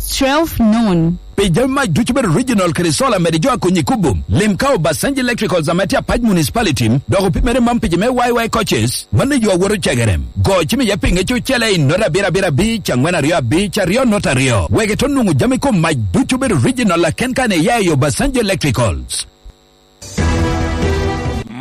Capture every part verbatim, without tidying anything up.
twelve noon. Pi jami mac ducu bedo original kede solar mede jo a konyi kubo, lim ka Obasanjo Electricals ame tye Apac Municipality, dok opimere man pi jo me Y Y coaches, mano jo a woto cegere. Go cim iye pinge cucele i nota abiro abiro abic, angwen aryo abic, aryo nota aryo. Wek ito nwoŋo jami kom mac ducu bedo original aken kan iya i Obasanjo Electricals.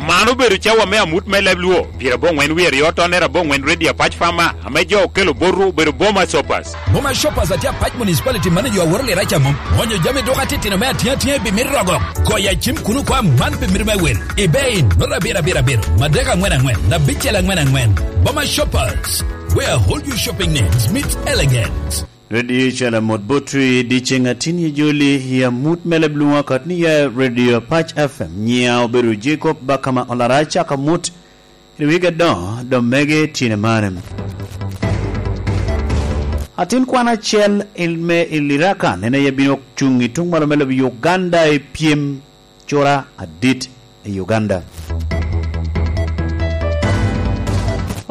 Man obedo cawa me amut me leb Luo, pyerabongwen wie aryo tonere abongwen Redio Apac Fama, ame jo okelo botwu obedo Boma Shoppers. Boma Shoppers atye Apac Municipality mane jo aworo lira camo. Onyo jami duka titino me atinga tinga i bimit rogo. Goya cim kuno kwa man pi mito me wil. Ibe in, nota abiro abiro abiro, madek angwen angwen, abicel angwen angwen. Boma Shoppers, where all your shopping needs meet elegance. Radio Calamot Botwi, dyeceŋ atin i joli, i amut me leb Luŋa, kot ni ya Radio Apac F M, nyiŋa obedo Jacob Bakama Olara, acako amut i wigi adoŋo, dok mege tyen amane. Atin kwan acel il-, me Ilirakan, en aye bino cuŋ i tuŋ malo me lobo Uganda i pyem cura adit i Uganda.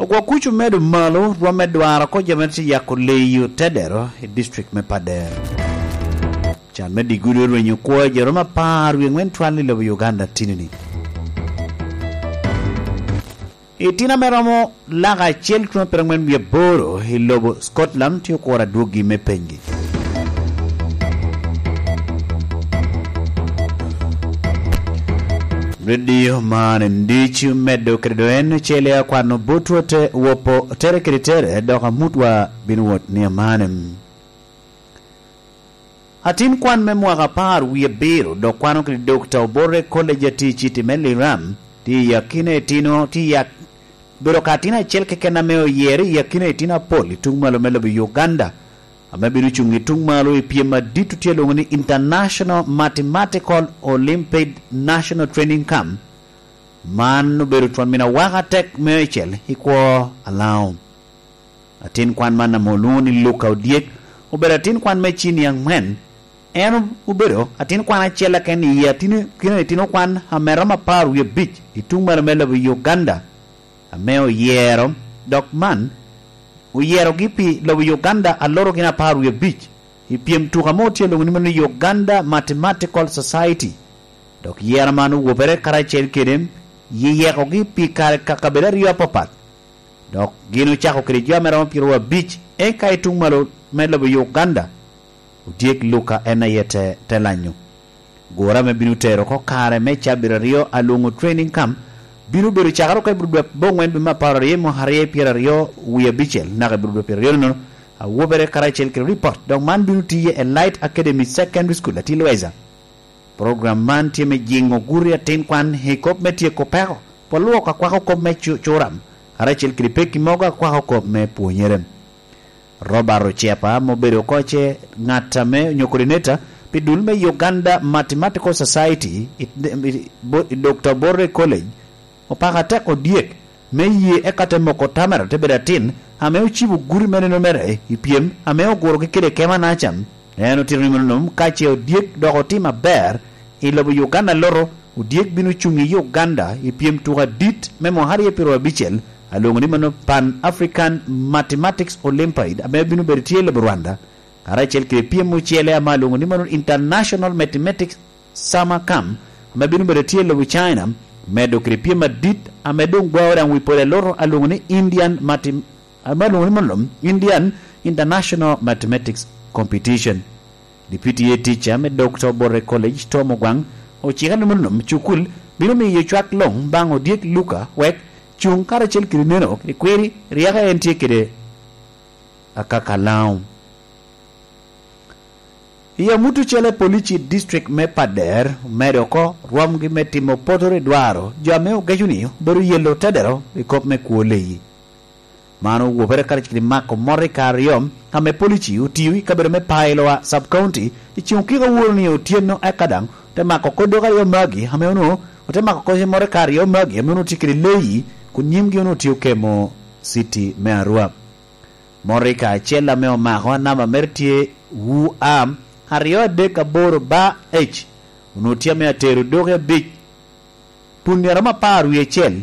Ogwok kuc omedo malo rwom me dwaro oko jo mere tye yako leyi otedero i district me Pader. Can me digudi orwenyo kwo jo romo apar wie ŋwen twal i lobo Uganda tinini. Itino ame romo laka acel tuno pyerangwen wie aboro i lobo Scotland tye okuro adwoggi me penygi. Redio man en ducu medo kede doŋ en ocele akwano botwa te wopo tere kede tere, dok amutwa bino wot ni amane. Atin kwan me mwaka apar wie abiro dok kwano kede Dokta Obore College atir i citi me Liram, tye i akina itino, tye i ak-, bedo ka atin acel keken ame oyere i akina itino apol i tuŋ malo me lobo Uganda, ame bino cuŋ i tuŋ malo i pyem adit otye lwoŋo ni International Mathematical Olympiad National Training Camp. Man obedo twon min awaka atek me ocel i kwo Alaŋo. Atin kwan man ame olwoŋo ni Luka Odyek obedo atin kwan me cini aŋwen. En obedo atin kwan acel keken i atin-, kino itino kwan ame romo apar wie abic i tuŋ malo me lobo Uganda, ame oyero, dok man oyerogi pi lobo Uganda aloro gin apar wie abic i pyem tuka mo tye lwoŋo ni mano Uganda Mathematical Society. Dok yero man owobere karacel kede yeyekogi pi kare ka kabedo aryo apapat. Dok gin ocako kede jo ame romo pyeraryo abic, eka i tuŋ malo me lobo Uganda, Odyek Luka en aye te, te lanyo. Gure ame bino tero oko kare me cabit aryo alwoŋo training camp bino bedo cakere oko i Budwep bongwen dwe me apar aryo i mwaka aryo pyeraryo wie abicel, naka i Budwep pyeraryo nono, awobere karacel kede ripot, dok man bino tiye e Light Academy Secondary School, Atilweza. Program man tye me jiŋo guri atin kwan i kop me tyeko peko, pol lwok akwako kop me cu-, curam, karacel kede pekki mogo akwako kop me pwonyere. Robert Ocepa, ame obedo oko ce ŋat ame onyo coordinator pi dul me Uganda Mathematical Society, i, i, bo-, i Dokta Borre College, opako atek Odyek me ye eka te moko tamera te bedo atin ame ocibo gudi me nino mere i pyem ame ogurogi kede kema Nacam. En otito ni mono nom ka ce Odyek dok otimo aber i lobo Uganda loto, Odyek bino cuŋ i Uganda i pyem tuko adit me mwaka aryo pyeraryo abicel, alwoŋo ni mano Pan African Mathematics Olympiad ame bino bedo tye i lobo Rwanda, karacel kede pyem ocele ame alwoŋo ni mano International Mathematics Summer Camp, ame bino bedo tye i lobo China, medo kede pyem adit ame doŋ gwao daŋ wi pol eloto alwoŋo ni Indian Mathem-, ame alwoŋo ni mono Indian International Mathematics Competition. Deputy Head Teacher me Dokta Obote College, Tom Ogwaŋ, ociko ni mono cukul bino miyo cwak luŋ baŋ Odyek Luka wek cuŋ karacel kede neno kede kwiri ryeko en tye kede akaka Laŋo. I amut ocele, polici i district me Pader omedo oko rwomgi me timo potoro i dwaro jo ame ogeco ni obedo yelo tedero i kop me kwo leyi. Man owobere karacel kede mako motoka aryo ame polici otio i kabedo me Pailoa Sub County i ceŋ okiko aworo ni otyeno, eka daŋ ote mako oko dok aryo magi ame onwoŋo, ote mako oko motoka aryo magi ame onwoŋo tye kede leyi, kun nyimgi onwoŋo tye okemo citi me Arua. Motoka acel ame omako a namba mere tye U A aryo adek aboro bar H, onwoŋo tye ame atero doki abic, puni a romo apar wie acel,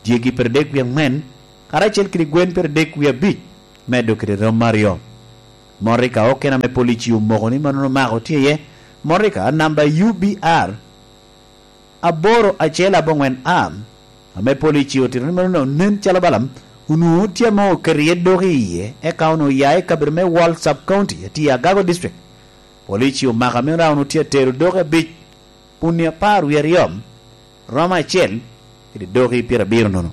dyegi pyeradek wie aŋwen, karacel kede gwen pyeradek wie abic, medo kede romo aryo. Motoka okene ame polici omoko ni mannono omako tye iye motoka namba U B R aboro acel aboŋwen A, ame polici otito ni mannono nen calo bala onwoŋo tye ame oketo iye doki iye, eka onwoŋo oya i kabedo me Wal Sub County, atye i Agago District. Polici omako ame onwoŋo tye atero doki abic, puni apar wie aryo, romo acel kede doki pyerabiro nono.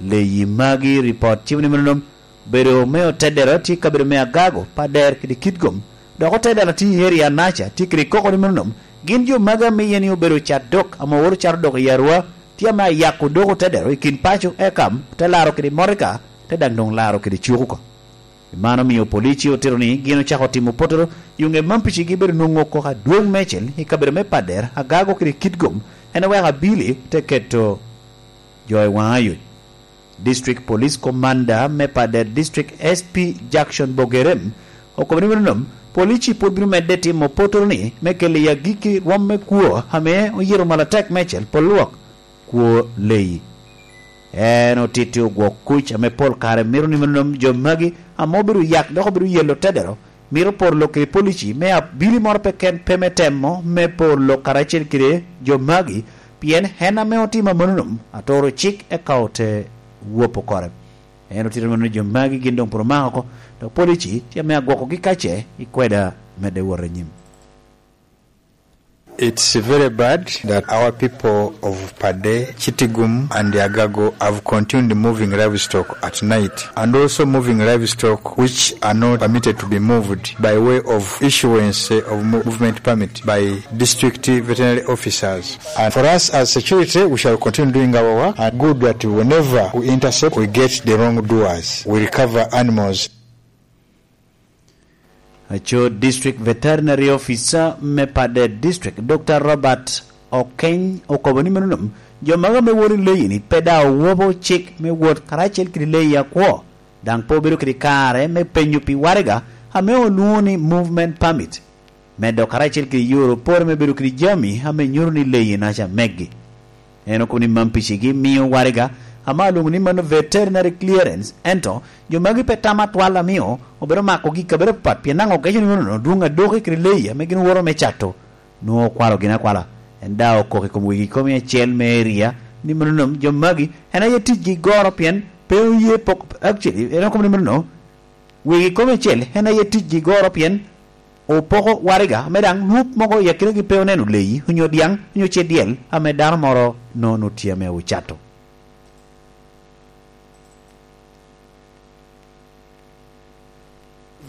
Leyi magi, ripot cibo ni meno obedo me otedero tye i kabedo me Agago, Pader kede Kitgum, dok otedero tye i area Naca, tye kede koko ni meno gin jo magi amiye ni obedo cat dok ame oworo cato dok i Arua, tye ame ayako dok otedero i kin paco, eka te laro kede motoka, te daŋ doŋ laro kede cuk oko. Pi man omio polici otito ni gin ocako timo potoro, i oŋe man picigi bedo nwoŋo koko adwoŋ meicel i kabedo me Pader, Agago kede Kitgum, en oweko abili te keto jo i waŋ ayoc. District Police Commander me Pader District, S P Jackson Bogerem, okobo ni meno nom, polici pwod bino medde timo potoro ni me kelo i agikki rwom me kwo ame oyito malatek meicel pol lwok kwo leyi. En otito ogwok kuc ame pol kare mito ni meno nom jo magi ame obedo yak dok obedo yelo tedero, mito poro lok kede polici me abili moro pe ken pe me temo me poro lok karacel kede jo magi, pien en ame otimo amannono atoro cik eka ote wopo kore. En otito mano jo magi gin doŋ pwod omako oko, dok polici tye ame agwokogi kace i kweda medde wot anyim. It's very bad that our people of Pade, Chitigum, and Agago have continued moving livestock at night, and also moving livestock which are not permitted to be moved by way of issuance of mo- movement permit by district veterinary officers. And for us as security, we shall continue doing our work. And good that whenever we intercept, we get the wrongdoers. We recover animals. Aco District Veterinary Officer me Pader District, Doctor Robert Okeny, okobo ni meno nom, jo maga me woro i leyi ni pe daŋ owobo cik me wot karacel kede leyi akwo, daŋ pe obedo kede kare me penyo pi waraga ame olwoŋo ni movement permit, medo karacel kede yore opore me bedo kede jami ame nyuto ni leyi naca meggi. En okobo ni man picigi mio waraga ame alwoŋo ni mano veterinary clearance, ento jo magi pe tamo atwal amio obedo makogi i kabedo apapat, pien daŋ ogeco ni meno dwoŋ adoki kede leyi ame gin owoto me cato nwoŋo okwalo gin akwala. En daŋ okoko i kom wegi komi acel me eria ni mano nom jo magi en aye ticgi goro pien pe oye pok, actually, en okobo ni meno wegi komi acel en aye ticgi goro pien opoko waraga, ame daŋ lwak mogo i akinagi pe oneno leyi, onyo dyaŋ, onyo cedyel, ame dano moro nono tye ame ocato.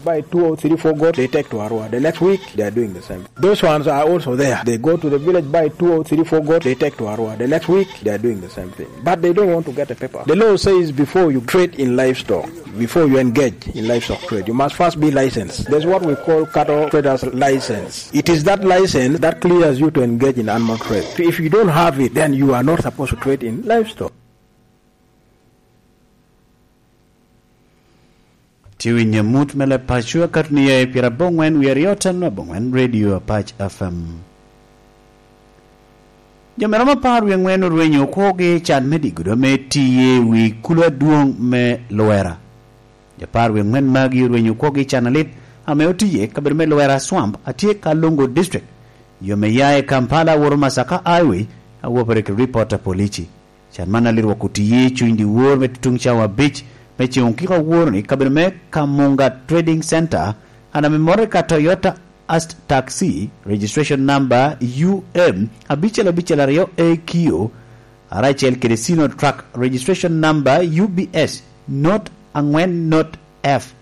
Buy two or three, four goats, they take to Arua. The next week, they are doing the same. Those ones are also there. They go to the village, buy two or three, four goats, they take to Arua. The next week, they are doing the same thing. But they don't want to get a paper. The law says before you trade in livestock, before you engage in livestock trade, you must first be licensed. There's what we call cattle traders license. It is that license that clears you to engage in animal trade. If you don't have it, then you are not supposed to trade in livestock. Tye winyo mut me Lepacua katni aye pira bongwen wi aryo ten abongwen Radio Apac F M. Jo me romo apar wie ŋwen orwenyo okwogi i can me digudo me tiye i wi kulo adwoŋ me Lwera. Jo apar wie ŋwen magi orwenyo okwogi i can alit ame otiye kabedo me Lwera Swamp atye ka Lungu District. Jo me ya i Kampala woro Masaka Highway awopere ki ripot a polici. Can man alit wok otiye i cuny dyewor me tutuŋ cawa abic me ceŋ okiko awor ni kabedo me Kamunga Trading Center, an ame motoka Toyota Ast Taxi, registration number U M abicel abicel aryo A Q, aracel kede Sino Truck, registration number U B S not angwen not F,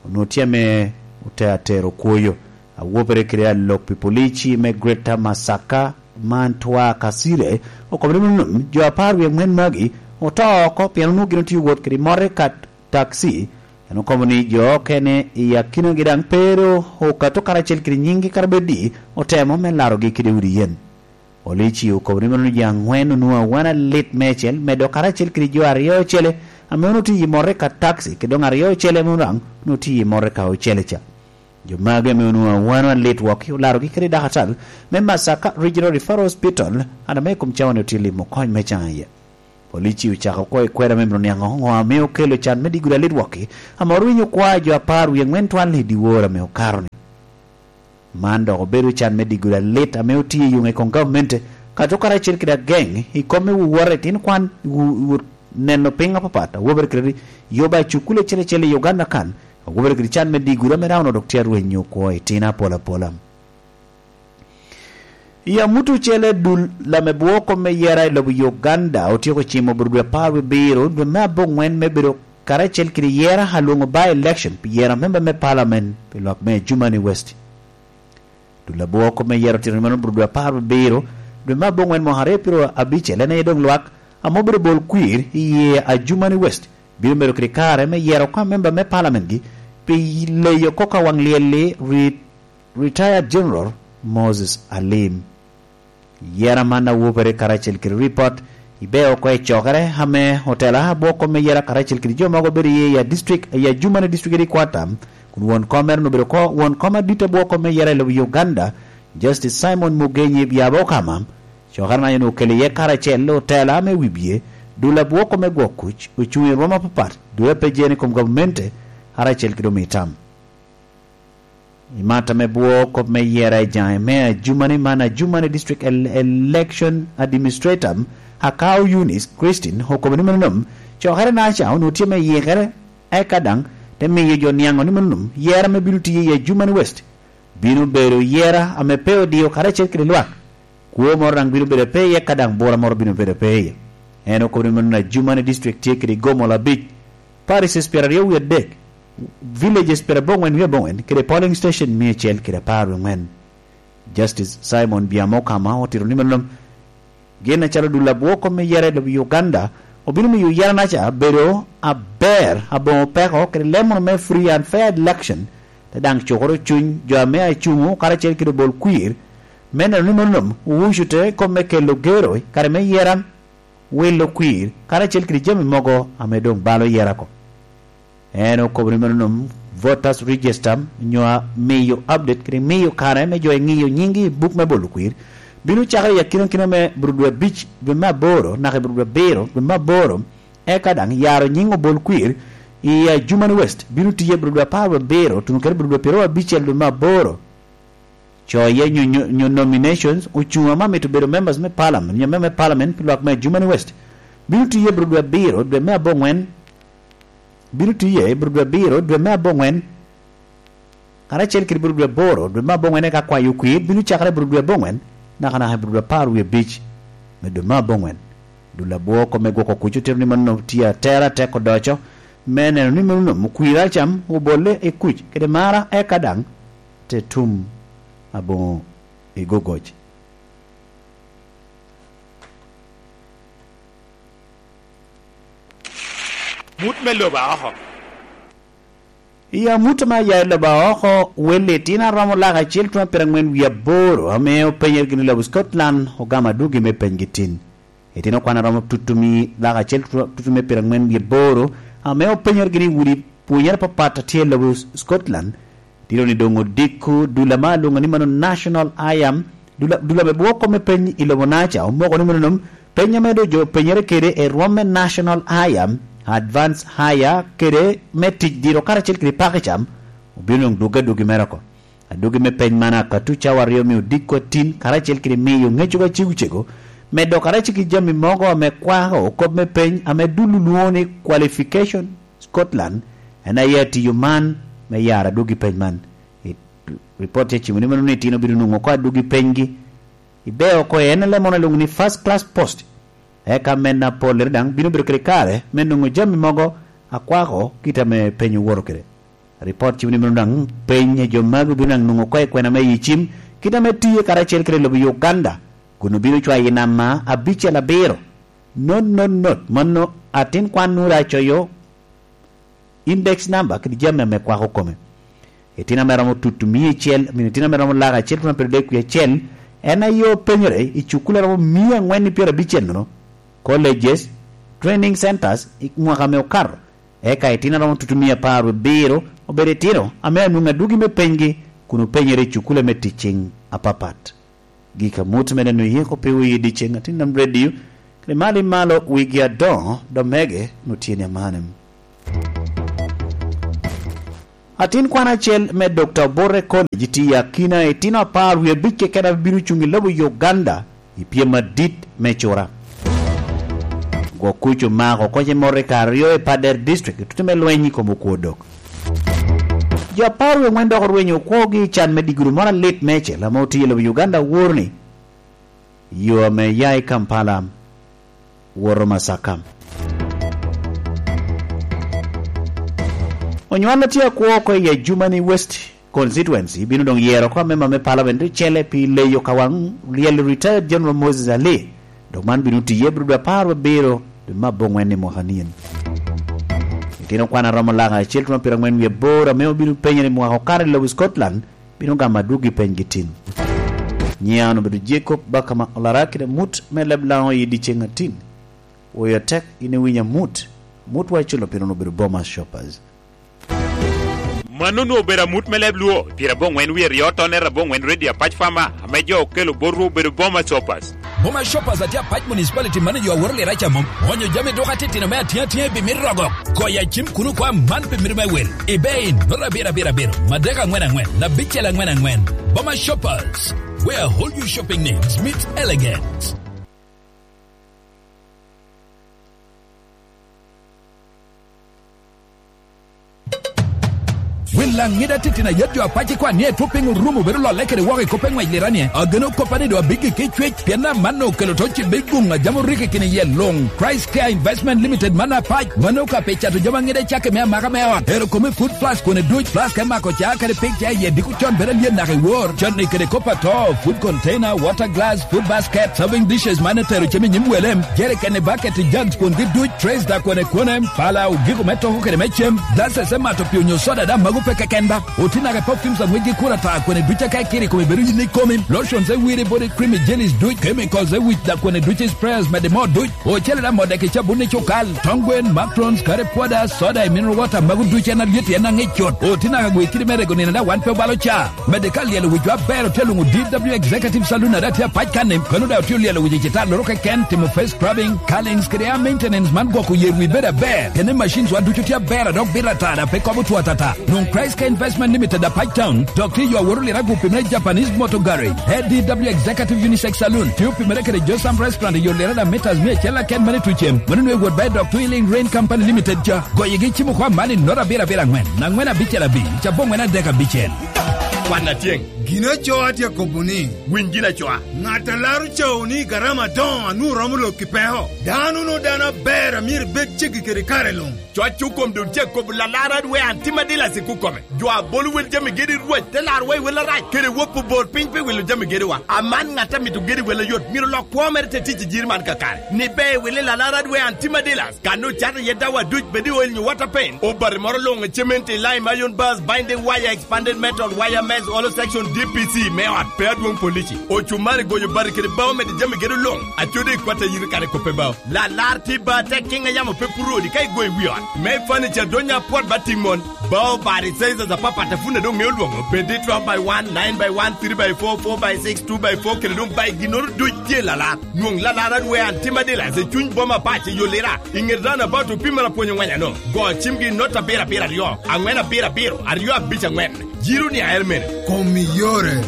onwoŋo tye ame ote atero kwoyo. Awopere kede alok pi polici me Greater Masaka, Mantwa Kasile, okobo ni mom jo apar wie ŋwen magi oto oko pien onwoŋo gin otye wot kede motoka taxi. En okobo ni jo okene i akinagi daŋ pe ru okato karacel kede nyiŋgi kara bed di otemo me larogi kede udi yen. Polici okobo ni meno jo aŋwen onwoŋo awana lit meicel, medo karacel kede jo aryo ocele ame onwoŋo tye i motoka taxi, kede doŋ aryo ocele ame onwoŋo tye i motoka ocele ca. Jo magi ame onwoŋo awana lit wok olarogi kede dakatal me Masaka Regional Referral Hospital, an ame i kom cawa-ni otye limo kony me caŋ iye. Polici ocako oko i kweda me mito niaŋ ŋo ame okelo can me diggo alit wokki, ame orwinyo kwa a jo apar wie aŋwen twal i dyewor ame okato-ni. Man dok obedo can me diggo alit ame otye i yoŋe i kom gavamente, kato karacel kede ageŋ i kom me wowot i tin kwan, wo-, wo-, neno piny apapat, a wobere kede yo ba cukul acel acel i Uganda kan, a wobere kede can me diggo ame dano dok tye arwenyo kwo i tin apol apola. I amut ocele, dul ame bwoko me yera i lobo Uganda otyeko cimo bur dwe apar wie abiro, dwe me aboŋwen, me bedo karacel kede yera alwoŋo by election pi yero amemba me parliament pi lwak me Adjumani West. Dul abwoko me yero tito mano bur dwe apar wie abiro, dwe me aboŋwen mwaka aryo pyero abicel, en aye doŋ lwak ame obedo bol kwir i ye Adjumani West bino bedo kede kare me yero oko amemba me parliament-gi pi leyo kok awaŋ lyel-li, ri-, Retired General Moses Alim. Yera man a wobere karacel kede ripot ibe oko i cokere ame otela abwoko me yera karacel kede jo mogo bedo iye i a district, i Adjumani district kede i Kwatam, kun won kom mere obedo ko won kom adit abwoko me yera i lobo Uganda, Justice Simon Mugenyi Byabokama. Cokere na en okelo iye karacel otela me wibye, dul abwoko me gwok kuc, ocuŋ i rwom apapat, dul ape jene i kom gavamente, karacel kede omitam. I mata me bwo kop me yera i jaŋe me Adjumani man, Adjumani District El-, Election Administrator Akau Eunice Christine okobo ni mano nom, cokere naca onwoŋo tye me yikere, eka daŋ te miyo jo niaŋo ni mano nom yera me bino tiyo i Adjumani West bino bedo yera ame pe odio karacel kede lwak. Kwo moro daŋ bino bedo pe iye, ka daŋ bura moro bino bedo pe iye. En okobo ni mano Adjumani District tye kede gomola abic, parishes pyeraryo wie adek, villages pyeraboŋwen wie aboŋwen, kede polling station mia acel kede apar wie aŋwen. Justice Simon Byamokama otito ni mano gin acalo dul abwoko me yera i lobo Uganda obino miyo yera naca bedo aber, aboŋo peko, kede lemono me free and fair election, te daŋ cukoro cuny jo ame acuŋo karacel kede obol kwir, me neno ni mano nom owucu te kop me kelo gero i kare me yera, wilo kwir, karacel kede jami mogo ame doŋ balo yera oko. En okobo ni mano nom voters register, nyo a miyo update kede miyo kare me jo eŋiyo nyiŋgi i buk me bolo kwir, bino cakere i akinakina me bur dwe abic dwe me aboro naka i bur dwe abiro dwe me aboro, eka daŋ yaro nyiŋ obol kwir i Adjumani West bino tiye bur dwe apar wie abiro tuno kede bur dwe pyeraryo abicel dwe me aboro. Coye nyo, nyo, nyo nominations, ocuŋ ame amito bedo members me parliament, nyo member me parliament pi lwak me Adjumani West, bino tiye bro dwe abiro, dwe me aboŋwen, bino tiye bro dwe abiro, dwe me aboŋwen, karacel kede bro dwe aboro, dwe me aboŋwen, eka kwayo kwir bino cakere bro dwe aboŋwen, nakanaka i bro dwe apar wie abic me dwe me aboŋwen. Dul abwoko me gwoko kuc otito ni mano tye atera atek odoco, me neno ni mano nomo kwira acam obolle i kuc kede mara, eka daŋ te tum aboŋo i gogoc. Mut me lobo aoko. I amut me aya i lobo aoko, wel litino aromo lak acel tuŋ apire aŋwen wie aboro ame openyere gin i lobo Scotland ogamo adwogi me penygi tin. Itino kwan a romo tutumi lak acel tu-, tutumi pire aŋwen wie aboro, ame openyoro gini i udi pwonyere apapat a tye i lobo Scotland. Tino ni doŋ odiko dul ame alwoŋo ni mano National I A M, dul a-, dul ame bwoko me peny i lobo naca, omoko ni mano nom peny ame doŋ jo penyere kede i rwom me National I A M, Advance Higher, kede me tic diro karacel kede pako i cam, obino doŋ dwogge adwogi mere oko. Adwogi me peny man akato cawa aryo me odiko atin, karacel kede miyo ŋeco ka cego cego, medo karacel ki jami mogo ame kwako kop me peny ame dul olwoŋo ni Qualification Scotland, en aye atiyo man me yaro adwogi peny man. I ripot tye cimo ni mano ni itino bino nwoŋo oko adwogi penygi, ibe oko en ale mono alwoŋo ni first class post, eka men apollere daŋ bino bedo kede kare me nwoŋo jami mogo akwako kit ame peny owoto kede. Ripot cimo ni mano daŋ peny a jo magi obino daŋ nwoŋo oko i kwena me yicim, kit ame tiye karacel kede lobo Uganda, kun obino cwayo i namba abicel abiro. Not, not, not, mano atin kwan nwoŋo daŋ acoyo index number kede jami ame kwako kome. Itino ame romo tutu mia acel, I mean, itino ame romo lak acel tutu apar dek wie acel, en aye openyere i cukule romo mia aŋwen i pyerabicel nono, colleges, training centers, i mwaka ame okato. Eka itino aromo tutu mia apar wie abiro obedo itino ame anwoŋo adwogi me penygi kun openyere i cukule me ticing apapat. Gik amut me neno yeko pe wi i dyeceŋ atin nam redio, Limalo i malo wigi adoŋo, dok mege, nu tye ni amanem. Atin kwan acel me Dokta Obote College tye i akina itino apar wie abic keken ame bino cuŋ i lobo Uganda i pyem adit me cura. Gwok kuc omako oko ce mot i kare aryo i Pader District, i tutte me lweny i kom okwo dok. Jo apar wie angwen dok orwenyo okwogi i can me diguru moro alit meicel ame otye i lobo Uganda, woro ni yo ame ya i Kampala woto Masaka. Onywal a tye akwo oko i Adjumani West Constituency bino doŋ yero oko amemba me Parliament ocele pi leyo ka waŋ lyel Retired General Moses Ali, dok man bino tiye bro dwe apar wabiro dwe me abongwen i mwaka nien. Itino kwan aromo laka acel tuno pyerangwen wie aboro ame obino penyo ni mwaka okato i lobo Scotland bino gamo adwogi penygi tin. Nyiŋa obedo Jacob Bakama Olara kede mut me leb Laŋo i dyeceŋ atin. Woyo tek in iwinyo amut, amut wa iculo pien obedo Boma Shoppers. Mano onwoŋo obedo amut me leb Luo, pyerabongwen wie aryo tonne rabongwen Radio Apac Farmer, ame jo okelo botwu obedo Boma Shoppers. Boma Shoppers atye Apac Municipality, mano jo aworo lira ca mom. Onyo jami dok atitino me atiŋ atiŋ i bimit rogo. Koya cim kuno kwa man pi mito me wel. Ibe in, nota abiro abiro abiro, madek angwen angwen, abicel angwen angwen. Boma Shoppers, where all your shopping needs meet elegance. Wil Laŋida titino ayet jo apac ikwan ni etwo piny orumo bedo lolle kede woko i kop eŋwec lira ni, ageno koppa ni doŋ abiggi ki cwec, pien amanno okelo to cibbe guŋ a jam orikki kine iye luŋ. Christ Care Investment Limited man apac, mano ka pi cato jami aŋida cakki me amaka me ot, ero kome food flask kone duc, flask me mako ca kede pik ca iye diko con bedo alyet naka i wor, conni kede kop ato, food container, water glass, food basket, serving dishes man etero cem i nyim wele, jerikeni, baketi, jugs kwongi duc, trays da kwene kwene, pala, ogiko me toko kede me cem, glasses me mato pii onyo soda da mago pe keken ba. Oti naka i perfumes a ŋwecgi kur ata kwene duc aka ikiri i kome bedo yin ikomi, lotions e wiri body cream i jellies duc, chemicals e wic da kwene duc i sprayers mede moo duc, ocele da modeki cabun i cukal, tong gwen, macrons, curry powder, soda i mineral water mago duc en alyet en aŋic cut. Oti naka gwe kidi me rego nino da wan pe obalo ca. Mede ka lyelo wic wa ber otye luŋo D W Executive Saloon a daŋ tye apac kanni, kono daŋ otye olyelo wic i citalloro keken, timo face scrubbing, curlings kede hair maintenance man gwoko yer wi bedo aber. Kene machines wa ducu tye aber a dok bito ata daŋ pe kobo two atata. Nwoŋ Christ Care Investment Limited apac town, dok tye yo aworo lira gupi me Japanese Motor Garage, A D W Executive Unisex Saloon, tye opimere kede Josam Restaurant i yo lira daŋ meters mia acel aken mani tucem. Mano nwe wot ba i dok Twilling Rain Company Limited ca. Goyegi cimo kwa mani nota abiro abiro angwen, angwen abicel abic, cabongwen adek abicel. Kwan atyeŋ. Gin acoo atye akobo ni, winy gin acoa. Ŋat a laro cawo ni garama adoŋo anwoŋo romo lok i peko. Dano no dano aber a myero ibed ceggi kede kare luŋ. Coc okom doŋ tye akobo lalar adwe an tim adilas i kukome. Jo a bolo wel jami gedi rwac te laro wa i wel arac, kede wopo bor piny pi wilo jami gedi wa. Aman ŋat a mito gedi wel ayot, myero lok kwo mere te tic i jiri man kakare. Ni be wili lalar adwe an tim adilas. Kan ocato iye dawa duc bed i oil nyo water paint, obati moro luŋ i cement i lime, iron bars, binding wire, expanded metal, wire mesh, hollow section, D P C me ot, pe adwoŋ polici, ocumari, goyo bati kede bao mede jami gedo luŋ, acodi i kwat a yito kare kope bao. Lalar tye ba tek kiŋ a yamo pe puro odi ka igoyo i wi ot. Me furniture donya apwot ba tiŋ mon. Bao bati sizes apapat a pwod doŋ ŋeo lwoŋo, bed i twelve by one, nine by one, three by four, four by six, two by four, kede doŋ bai ginnoro duc tye lalar. Nwoŋ lalar adwe an tim adilas i cuny boma pac i Yolira, i ŋet roundabout opimere apwony oŋweny ano. Go cimgi i nota abiro abiro aryo, aŋwen abiro abiro, aryo abic aŋwen. Jiro ni aer mene. Kom i yore.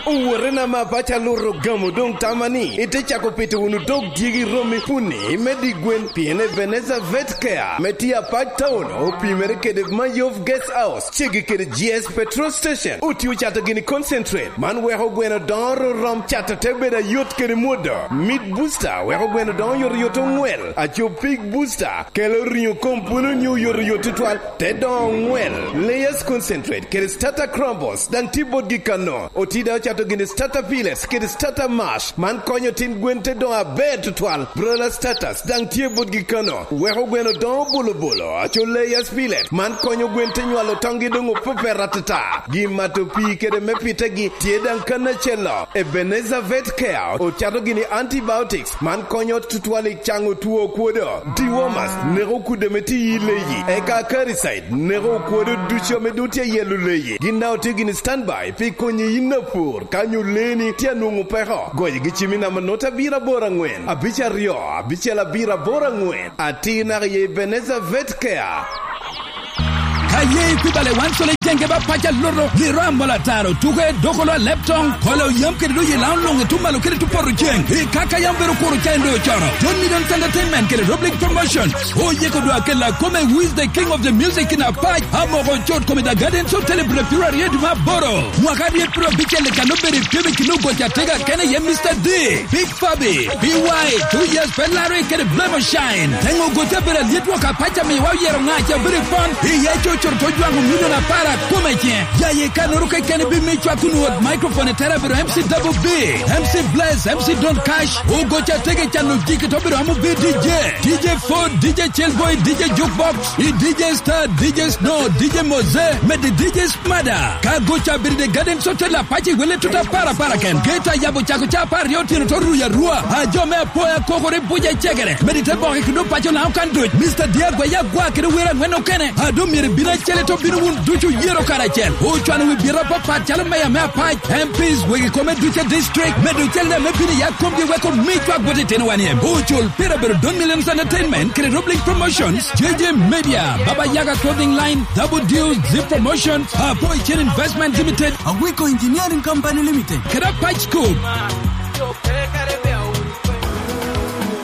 Owote na ma paco aluto gamo doŋ tama ni ite cako pito wunu dog dyegi romi puni me di gwen, pien Ebenezer Vet Care me tye apac town opimere kede Mayov Guest House, ceggi kede G S Petrol Station. Otio cato gini concentrate, man weko gweno doŋo rom, cato te bedo ayot kede mwodo. Meat Booster weko gweno doŋo yotoyot oŋwel. Aco Pig Booster kelo riŋo kom pwolo nyo yotoyot tutwal, te doŋo oŋwel. Layers Concentrate kede Starter Crumbles daŋ tye botgi kano. Oti daŋ ocato gini Starter Pellets kede Starter Mash, man konyo tin gwen te doŋo aber tutwal. Broiler Starters daŋ tye botgi kano, weko gweno doŋo bulubulu. Aco Layers Pellet, man konyo gwen te nywalo toŋgi doŋ opepet atata. Gin mato pii kede me pitegi tye daŋ kan acel-lo. Ebenezer Vet Care ocato gini antibiotics, man konyo tutwal i caŋo two okwodo. Dewormers neko okudde ame tye i leyi, eka Acaricide neko okwodo ducu ame doŋ tye ayelo leyi. Gin daŋ otye gini standby pi konyi yin apur. Ka nyo leeni tye anwoŋo peko, goyo gi cim i namba nota abiro aboro aŋwen, abic aryo, abicel abiro aboro aŋwen. Atir naka i Ebenezer Vet Care. Ka ye ikwibale wan colo jenge ba pac aloto, liro amol ataro, tuko edokolo alep toŋ, kolo yam kede doye lao luŋ etum malo kede tu poto ceng. I kaka yam bedo kuro ca endo cono. John Million Entertainment kede Roblic Promotion. Oyeko dwa kela kome with the king of the music in apac, amoko cot kome the Gardens Hotel i Brepiro aryo dwe me aboro. Mwaka aryo piro abicel i kan obedo i pyem i kin ogoc atega kene iye Mister D, Big Fabi, B Y, Two Years Ferrari kede Blemo Shine. Teŋo ogoc abedo alyet wok apac amiwa oyero ŋac abedo i pon, iye cocoro to jwaŋo milion apar akome ciŋe. Ya ye kanoro kekene bi mi cwak kun wot microphone i tere abedo M C Double B, M C Bless, M C Don Cash, ogoc atega i cano jiki to bedo amo B D J, D J Ford, D J Chillboy, D J Jukebox, i D J Star, D J Snow, D J Moze, mede D J Smada. Ka goca bedo i Garden Hotel apac i wele tuta para para ken. Geta yabo cako ca apar aryo otyeno to ruyo arua. A jo me apoya kokore buca i cegere. Mede te boke kede opaco na okan duc. Mister Diagwa ya gwa kede wera angwen okene. A do myero bino acel to bino wun ducu yero karacel. Ocwano wi bira papat calo meya me apac, M Ps, wegi kome duce district. Medo cel me bino ya komgi weko mi cwak bot itino wan iem. Ocul pira bedo Don Millions Entertainment kede Roblink Promotions, J J Media, Baba Yaga Clothing Line, Double Deal, Zip Promotion, Apo Chen Investment Limited, Awiko Engineering Company Limited, kede Patch Cook.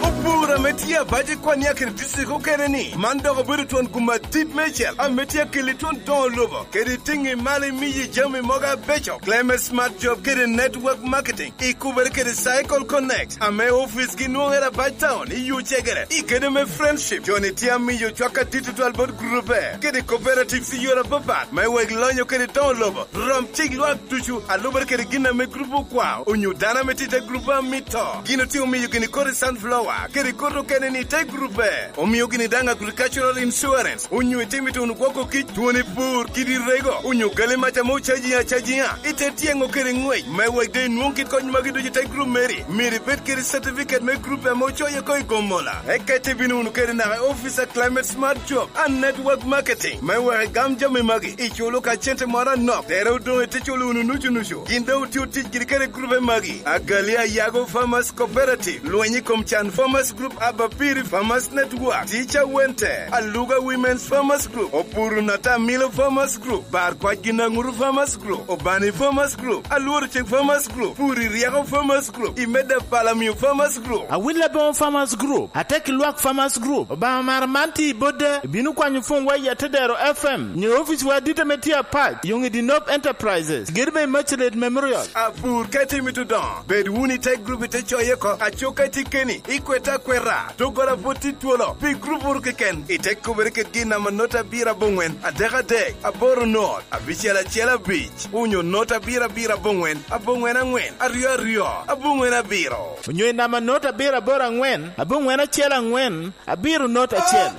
Opur ame tye abac i kwan ya kede district okene ni, man dok obedo twon gum adit meicel ame tye akeli twon doŋo lobo kede tiŋi malo imiyi jami mogo abeco. Climate Smart Job kede Network Marketing ikubere kede Cycle Connect ame office gi nwoŋere abac town i Yucegere. I kede me Friendship, joni tye amiyo cwak adit tutwal bot grupe kede cooperatives i yore apapat me wek lonyo kede doŋo lobo. Rom cik lwak ducu alubere kede gin ame grupe okwao onyo dano ame tye i te grupe amito. Gin otye omiyo gini kodi sunflower kede kodi okene ni te grupe. Omio gini daŋ agricultural insurance onyo itimo i tuno gwoko kic, twoni pur, kidi rego, onyo gali mac ame ocaji acajiŋa. Ite tyeŋo kede ŋwec me wek de inwoŋ kit kony magi ducu i te grup meri. Myero ibed kede certificate me grup ame ocoyo oko i Gomola. Eka ite bino wunu kede naka i office a Climate Smart Job and Network Marketing me wek igam jami magi, iculo ka cente moro anok, tere odoŋ ite culo wunu nucu nucu. Gin doŋ otio tic kede kede grupe magi: Agali Ayago Farmers Cooperative, Lweny i kom Can Farmers Group, Abapiri Farmers Network, Teacher Wente, Aluga Women's Farmers Group, Opuru Nata Milo Farmers Group, Bar Kwac Ginaŋuru Farmers Group, Obani Farmers Group, Alworo Cik Farmers Group, Puri Ryeko Farmers Group, Imeda Palamio Farmers Group. Awil Aboŋo Farmers Group, Atek Lwak Farmers Group, Obaŋa mara man tye i Bodda, ibino kwanyo pwony wa i Atedero F M, nyo ofice wa adit ame tye apac, Yoŋ i Dinop Enterprises, gedo me Immaculate Memorial. Apur ka itimo i Tudong, bed wunu i te grup ite coye oko, acok ka itye keni, ikwete akweta, doggola pwod tye twolo, pi grup wunu keken, ite kubere kedgi i namba nota abiro aboŋwen, adek adek, aboro not, abicel acel abic, onyo nota abiro abiro aboŋwen, aboŋwen aŋwen, aryo aryo, aboŋwen abiro. Onyo i namba nota abiro aboro aŋwen, aboŋwen acel aŋwen, abiro not acel.